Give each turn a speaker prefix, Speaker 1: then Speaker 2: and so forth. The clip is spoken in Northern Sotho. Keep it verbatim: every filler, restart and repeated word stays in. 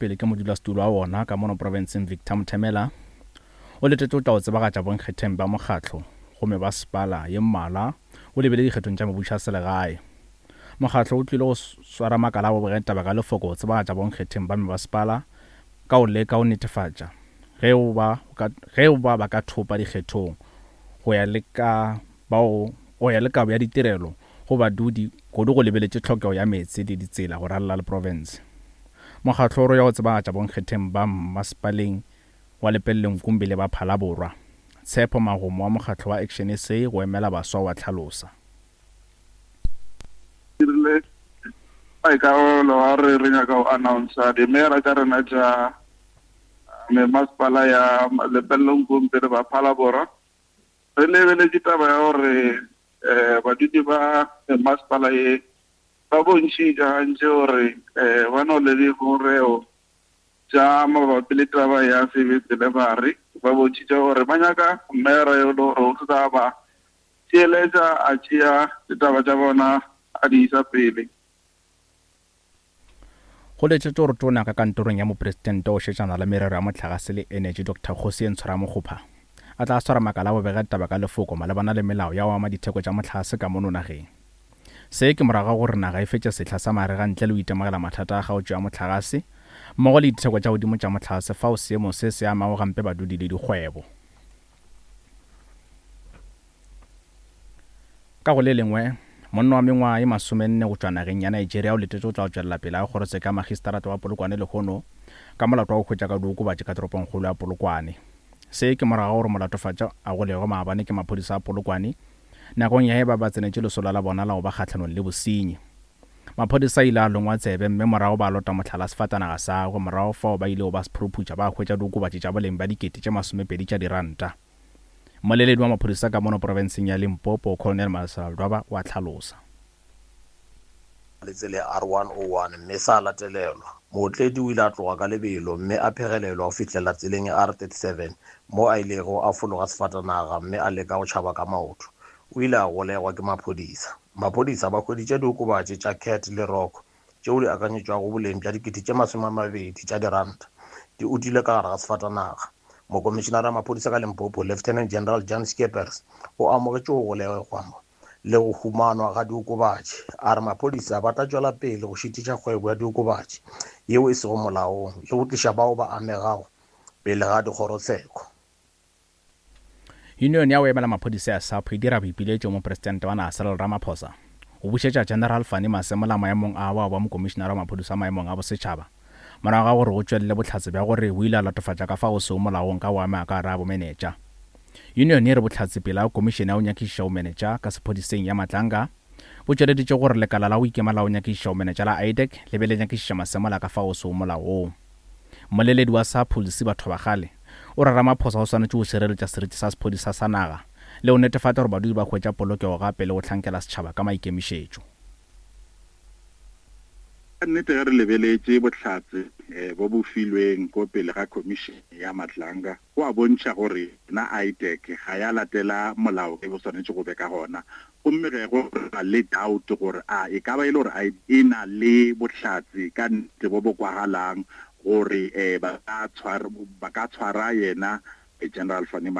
Speaker 1: pele ke modulasetulo wa wona ka mono profenseng Victor Mothemela o letetše o tla o tsebagatša bonkgetheng ba mokgatlo go mebasepala ye mmalwa o lebile dikgethong tša mebušo ya selegae. Mokgatlo o tlile go swara makala a bobegetaba ka lefoko go tsebagatša bonkgetheng ba mebasepala ka go leka go netefatša ge o ba ge o ba ba ka thopa dikgethong go ya le ka bao go ya le kabo ya ditirelo go badudi kudu go lebeletše tlhokego ya meetse le ditsela go ralala le profense. Mokgatlo o re ya go tsebagatša bonkgetheng ba mmasepaleng wa Lepelle Nkumbi le ba Phalaborwa. Tshepo Magomo wa mokgatlo wa Action S A go emela baswa wa tlhalosa.
Speaker 2: Dirile maikarabelo a re re nyaka go announcer dimeyara tša rena tša memasepala ya Lepelle Nkumbi le ba Phalaborwa. Re lebeletše taba ya gore um badudi ba masepala ye ba bontšhitše gantši gore um ba no le dingongorego tša mabapi le taba ya service delivery. Ba bontšhitše gore ba nyaka meyara yo le gore o tla ba theeletša, a tšea ditaba tša bona, a di isa pele.
Speaker 1: Go letetše gore tona ka kantorong ya mopresidente o šetšana le merero ya mohlagase le energy, Doctor Kgosientsho Ramokgopa, a tla swara makala a bobegetaba ka lefoko malebana le melao ya go ama ditheko tša mohlagase ka mono nageng. Se ke morago ga gore naga e fetše sehla sa marega ntle le go itemogela mathata a kgaotšo ya mohlagase mmogo le ditheko tša godimo tša mohlagase, fao seemo se se amago gampe badudi le dikgwebo. Ka go le lengwe, monna wa mengwaga ye masomenne go tšwa nageng ya Nigeria o letetše go tla go tšwelela pele ga kgorotsheko ya magistrata wa Polokwane lehono ka molato wa go hwetša ka diokobatši ka toropongkgolo ya Polokwane. Se ke morago ga gore molatofatša a golegwe maabane ke maphodisa a Polokwane nakong ya ge ba ba tsenetše lesolo la bona la go ba kgahlanong le bosenyi. Maphodisa a ile a longwa tsebe mme morago ba lota mohlala sefatanaga sa gagwe, morago fao ba ilego ba se phuruputša ba hwetša diokobatši tša boleng bja dikete tše masomepedi tša diranta. Mmoleledi wa maphodisa ka mono profenseng ya Limpopo, Colonel Malesela Ledwaba, o a hlalosa.
Speaker 3: Le tsela ya R one oh one mme sa latelelwa. Mootledi o ile a tloga ka lebelo mme a phegelelwa go fihlela tseleng ya R thirty-seven mo a ilego a fologa sefatanaga mme a leka go tšhaba ka maoto. O ile a golegwa ke maphodisa. Maphodisa ba hweditše diokobatši tša cat le rock tšeo di akanyetšwago boleng bja dikete tše masome a mabedi tša diranta di utilwe ka gare ga sefatanaga. Mokomišenara wa maphodisa ka Limpopo, Lieutenant General Jan Scheepers, o amogetše go golegwa le go humanwa ga diokobatši. A re maphodisa ba tla tšwela pele go šitiša kgwebo ya diokobatši yeo e sego molaong le go tliša bao ba amegago pele ga dikgorotsheko.
Speaker 1: Union ya go emela maphodisa ya SAPO e dira boipiletšo mopresidente wa naga Cyril Ramaphosa go bušetša General Fannie Masemola maemong a wa ba mokomišenara wa maphodisa maemong a bosetšhaba morago ga gore go tšwelele bohlatse bja gore o ile a latofatša ka fao seo molaong ka go ama ka gare a bomenetša. Union e re bohlatse pele ga komišene ya go nyakišiša bomenetša ka sephodiseng ya Matlanga bo tšweleditše gore lekala la go ikema la go nyakišiša bomenetša la IDAC le be le nyakišiša Masemola ka fao seo molaong. Mmoleledi wa SAPO, Lesiba Thobakgale, o re Ramaphosa o swanetše go šireletša seriti sa sephodisa sa naga le go netefatša gore badudi ba hwetša polokego gape le go hlankela setšhaba ka maikemišetšo.
Speaker 4: Ka nnete, ge re lebeletše bohlatse um bo bo filweng ko pele ga commission ya Matlanga, go a bontšha gore na IDAC ga ya latela molao e bo swanetše go be ka gona, gomme ge go ba le doubt gore a e ka ba e le gore e na le bohlatse ka nnete bo bo kwagalang gore um ba ka tshwara ba ka tshwara yena General Fannie.